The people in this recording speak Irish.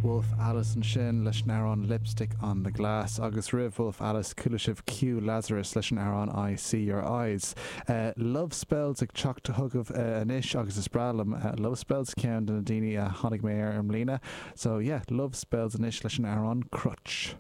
Wolf Alice ansin leis an amhrán Lipstick on the Glass agus roimh Wolf Alice chuala sibh Q Lazarus leis an amhrán I See Your Eyes. Love Spells ag teacht chugaibh anois agus is breá liom Love Spells, ceann de na daoine a tháinig mé air i mbliana. So yeah, Love Spells anois leis an amhrán Crutch.